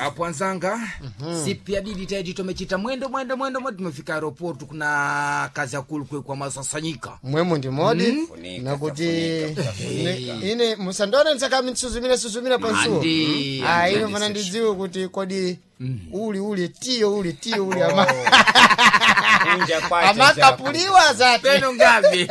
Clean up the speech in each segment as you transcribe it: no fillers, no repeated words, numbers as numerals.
Kapwanzanga sipi didi taiti tomechita mwendo mwendo mwendo mwendo tumefika aeroportu kuna kazi akulu kwe kwa masasanyika. Mwemu ndi modi Funika, nakuti funika, funika. ine musandione nsakami nsuzumira suzumira pansuwo. Andi, Ah, andi, ine andi, fana Sergio. ndidziwe kuti kodi uli uli tiyo uli tiyo uli ama Kunja kwacha amakapuliwa zati. Peno ngavi.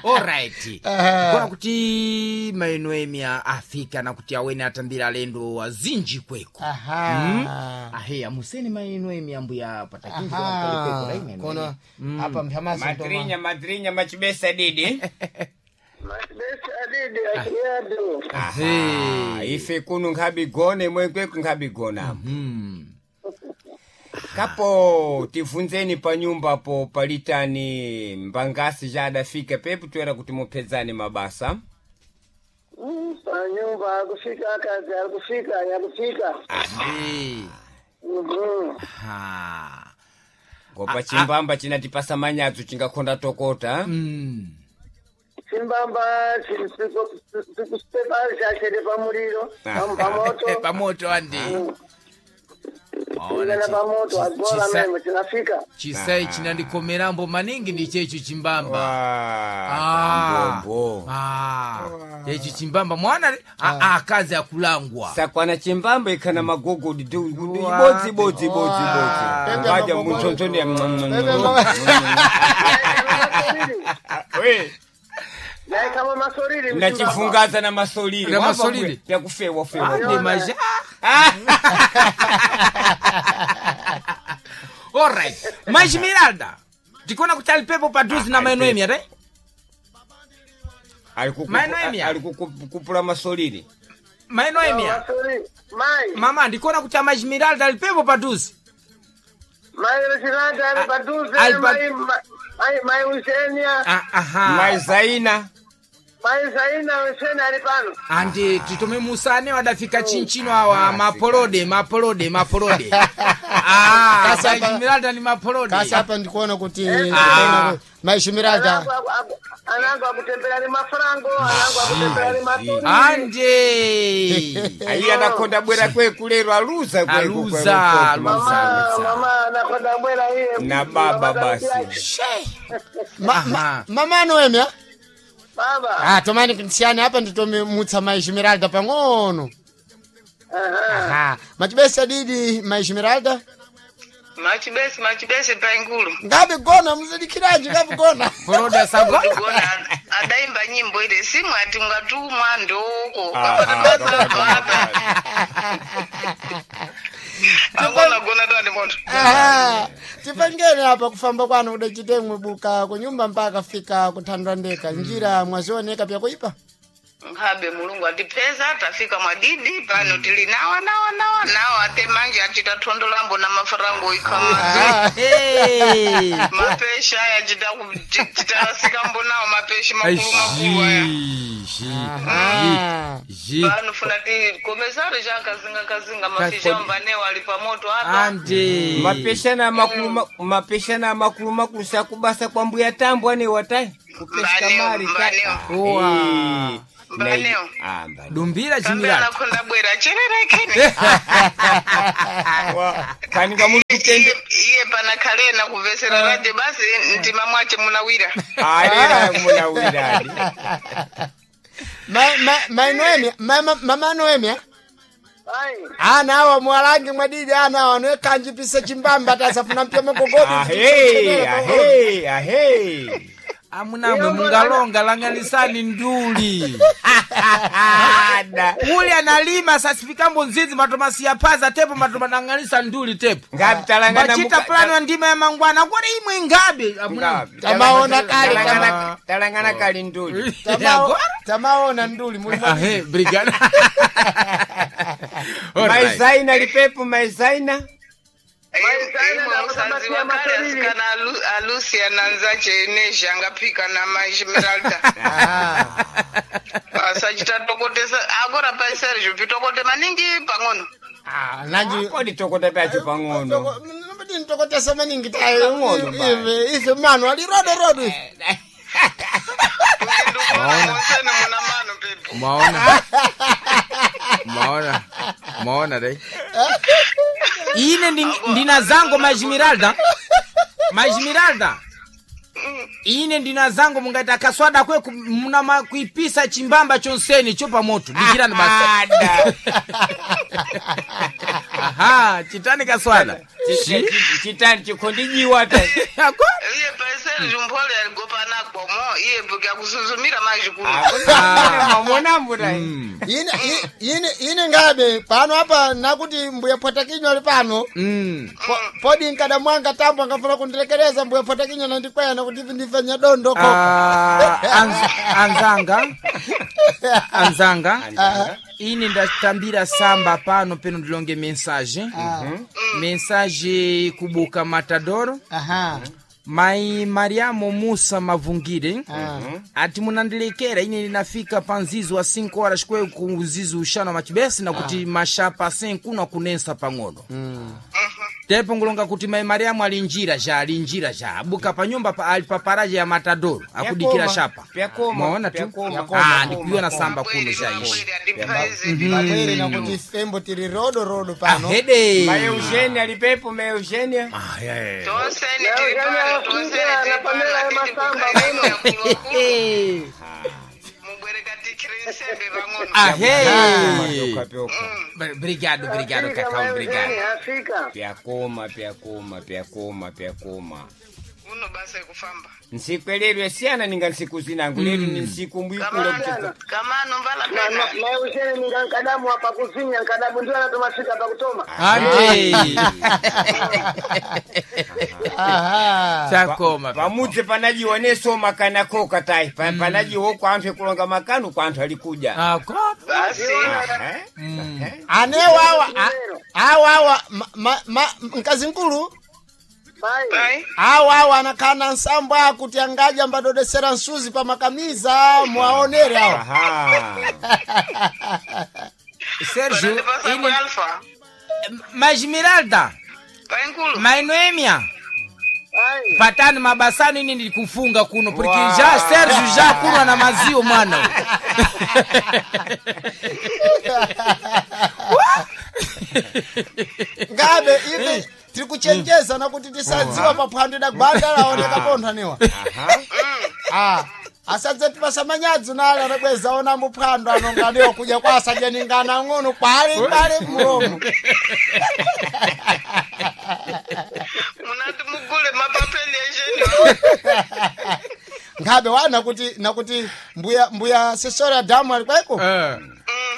Alright. Aha. Kona kuti mainoemia afika na kuti awene atambira alendo azinji kweko. Aha. Ahe amuseni mainoemia mbuya patakinji Aha. Kono apa mphamaso Madrinya madrinya machibesa didi. Machibesi adidi achiyadu. Ah, ife kuno nkhabigone mwekweko nkhabigona. Kapo tivunzeni pa nyumba po palitani mbangasi jadafika pepo toera kuti mupedzane mabasa. Panyumba akufika akazi akufika yakufika. Mhm. Ha. Ngopa chimbamba chinatipasa manyadzo chingakhonda tokota. Chimbamba chikusepa chachede pamuliro pamoto. Pamoto andi. Chingana pamoto agora memo chinafika. Chisai chinandikomerambo maningi ndi checho chimbamba. Ah, tambombo. Ah, checho chimbamba mwana akazi akulangwa. Sakwana chimbamba ikhana magogodi ibodzi ibodzi ibodzi ibodzi. Pepe Ngaja magogodi. muntsontsoni ya Pepe We, Naikama masolili. nachifungaza na masolili. Na masolili? Yakufewa fewa. Andi maja. Alright. Majmiralda. Tikona kuti alipepo padhuzi na mainoemia re? Mainoemia. Ali kukupula masolili. Mainoemia. Masolili. Mai. Mama ndikuona kuti amajmiralda alipepo padhuzi. Mai Rosilanda ali paduze. Ali pa- Mai mai mai Eugenia. Ah, aha. Maizaina. Mai Zaina Eugenia ali pano. Andi titome musane wadafika chinchino awa mapolode mapolode mapolode. Ah, Kasa pa- majmiralda ni mapolode. Kasi apa ndikuona kuti Ah. maishimiralda Anangu anangu akutembera ni mafrango, anangu akutembera ni masolili. Andi. Ayi anakonda bwera kweku lero aluza kweku. Aluza, kweku, aluza. Mama, mama anakonda bwera iye. Na baba basi. Aha. mama Noemia. Baba. Ah, tomani nsiyani apa nditome mutsa maishimiralda pang'ono. Aha. Aha. Machibesa didi maishimiralda. Machibesi machibesi paingulu. Ngabe gona muzidikiraji ngabe gona. Poloda sagona. Gona adaimba nyimbo ile simu ati ungatumwa ndoko. Agona gona dani moto. Aha. Tipangene apa kufamba kwanu kudachitemwe buka kunyumba mpaka fika kuthandwa ndeka njira mwazioneka pyakuipa. Nkhabe mulungu atipeza tafika mwadidi pano tili nawa nawa nawa nawa ate manje achita thondo lambo na mafarango ikama. Ah. Hey. Mapesha aya chita chitarasika nawo mapesha makulu makulu aya. Aha. Pano funa ti komesari chakazinga kazinga mafisha mbanewo ali pamoto apa. Andi. Mapeshana makulu mapeshana makulu makulu sakubasa kwa mbuya tambo ane watai. Kupeshka Mbaneo, mari ta. mbaneo. Owa. Eh, Mbaneo. Ah, mbaneo. Dumbira Pambe chimiralda. anakonda bwera chererekene. Kanika muli kutende. Iye pana kalena kuvesera radio basi mtima mwache munawira. Alera munawiradi. Ma ma ma Noemia, ma mama Noemia. Mai. Ana awa mwalangi mwadidi ana awa noekanjipisa chimbamba tasafuna mpya magogodi. Ahe, ahe, ahe. Amunamwe mungalonga langanisani nduli. Ada. Uli analima sasifikambo nzizi matomasiya paza tepo matomanang'anisa nduli tepo. Ngabi talangana Machita plani wa ndima ya mangwana kodi imwe ngabe amuna. Ngabi. Tamaona kale, Talangana kali nduli. Tamaona nduli muli mwadidi. Ahe, brigada. Alright. Maizaina lipepo maizaina. Zaina Imwe na musazi Mama wakale Masolili. asikana Alusia nanzache nezha angapika na maishimiralda. Aha. Asachita tokotesa agora pa Sergio pitokote maningi pang'ono. Ah, nanji Kodi tokota pacho pang'ono. Nobody ntokotesa maningi tayo. Pang'ono basi. Ife mano ali rodo rodo. Ndikuona monsene muna mano pepo. Maona. Maona. Maona dai. Ine ndina zango majimiralda. Majimiralda. Ine ndina zango mungati akaswada kwe muna kuipisa chimbamba chonseni cho pamoto. Dikirani basi. Ada. Aha, chitani kaswada. Chitani chikhondijiwa ta. Ako? Iye paiseri jumphole aligopana komo iye mbuka kusuzumira maji kuno. Mamonambo ta. Ine ine ngabe pano apa nakuti mbuya pwatakinywa ali pano. Podi nkada mwanga tambo angafuna kundilekereza mbuya pwatakinywa nandikwena kuti ivi ndife nyadondo ko. Ah, anzanga. Anzanga. Ine ndatambira samba pano peno ndilonge mensagem. Mensagem kubuka Matadoro. Aha. Mai Mariamo Musa Mavungire ati munandilekera ine linafika pa nzizi wa 5 horas kwe ku nzizi uxana wa machibesi na kuti mashapa 5 kuno akunensa pang'ono. Tepo ngulonga kuti mai Mariamu ali njira ja ali njira ja abuka pa nyumba pa, ali pa paraja ya Matadoro akudikira shapa. Pyakoma, Mwaona tu pyakoma, ah ndikuiona samba kuno ja ishi Pabwere nakuti fembo tiri rodo rodo pano. ahede Mai Eugenia alipepo mai Eugenia. Ah, yeah. Tonseni tiri pano, tonseni tiri pano, atiti kukhaimira kulokulu. Mubwereka tikire nsembe pang'ono. Ahe. Pyoka pyoka. Obrigado, obrigado, Cacau, obrigado. Afika. Pyakoma pyakoma pyakoma pyakoma. Uno basa ekufamba. Nsiku elero yasiyana ninga nsiku zinangu lero ni nsiku mbwikula kucheza. Kamano mvala pena. Mai Eugenia ninga nkadamu apa kuzinya nkadamu ndio anatomafika pa kutoma. Ande. Aha. Chakoma. Pamudzi panajiwa neso makana koka tai. Panajiwa kwa anthu ekulonga makanu kwa anthu alikuja. Ah, ko- Basi. Eh? Ane wawa awawa mkazi nkulu Pai. Pai. awawa anakhala nsambo akuti angadya mbadodesera nsuzi pa makamiza mwaonere awa. Aha. Sérgio, Panandipasa ine ku Alfa. Majmiralda, Pai nkulu. Mainoemia, Pai. patani mabasano ine ndikufunga kuno porque Wow. já Sérgio já kunwa na mazio mwana. Ngabe ivi tiri kuchenjeza nakuti tisadziwa paphwando idagwanda laoneka pontho Aha. Ah, asadze tipasa manyadzi nale anabweza ona muphwando anonganiwa kudya kwa asadyaningana ng'ono kwale kwale mulomo. Munati mugule mapapeli ejeni. Ngabe wana kuti nakuti mbuya mbuya sesora damu ali kweko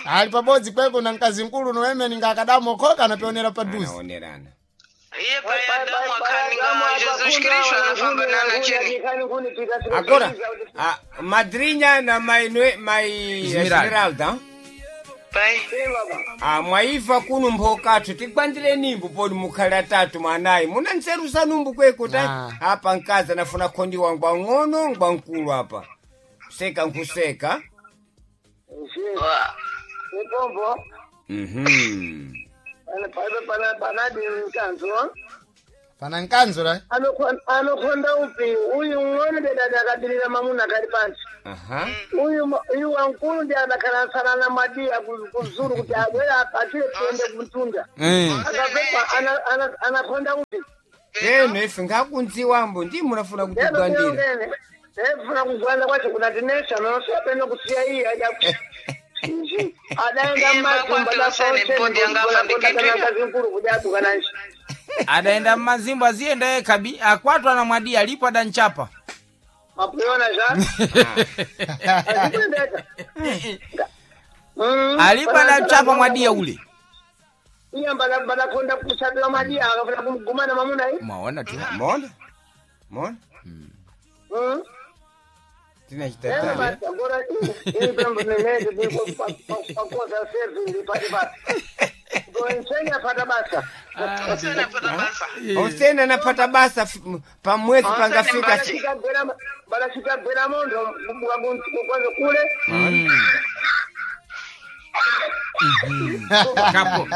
ali pabodzi kweko na mkazi mkulu noemeni ngakadamu okhoka anapionera paduzi. Anaonerana. Iye pai Adamu akhaninga Jesus Kristu anafamba nana cheni. Agora, a madrinha na mai mai Esmeralda. Esmeralda. Pai. Ah, mwaiva kuno mphokathu tigwandire nimbu poni mukhale atatu mwanayi muna nzeru zanumbu kweko ta Ah. apa mkazi anafuna khondiwa ngwang'ono ngwankulu apa seka nkuseka Wa. Nipombo. mhm Panadi mkanzo. Pana nkanzo la. Anokonda upi uyu ng'ono dedada akadilira mamuna kali pansi. aha Uyu uyu wankulu ndi adakhalasana na madiya kuzuru kuti abwera apatire tiende kumtunda. Akapepa anakonda upi. eno ife ngakunziwambo ndi munafuna kutigwandira Efuna kugwanda kwacho kunatinesha nosapena kusiya iye aja adaenda Iye mmatumba kujadukananji Adaenda mmazimbo aziyenda yekha bi akwatwa na mwadia alipo adanchapa. mapuyona zva azikuendeka Alipo adanchapa mwadia ule. iye mbadakonda kusabila madiya akafuna kumgumana mamuna iyi Mwaona tu. mona mona tinachitatali pakosa basa Tonseni apata basa. osena anapata basa pamwezi Osene pangafika mbali. balachikagwera mondo kwanza kule Kapo.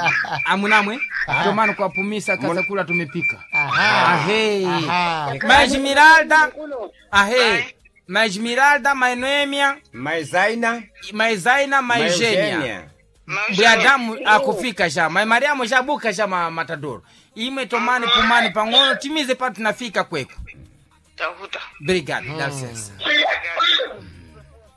Amunamwe. Tomano kuwapumisa kazakula tumepika. Aha. Ahe. Aha. Majimiralda. kuno Ahe. Majimiralda, Mainoemia, maizaina Maizaina, Maigenia. Maigenia. Mbuya Adamu akufika ja mai Mariamu jabuka ja matadoro imwe tomani pumani pang'ono timize pa tunafika kweku. Takuta. Obrigado, dá licença.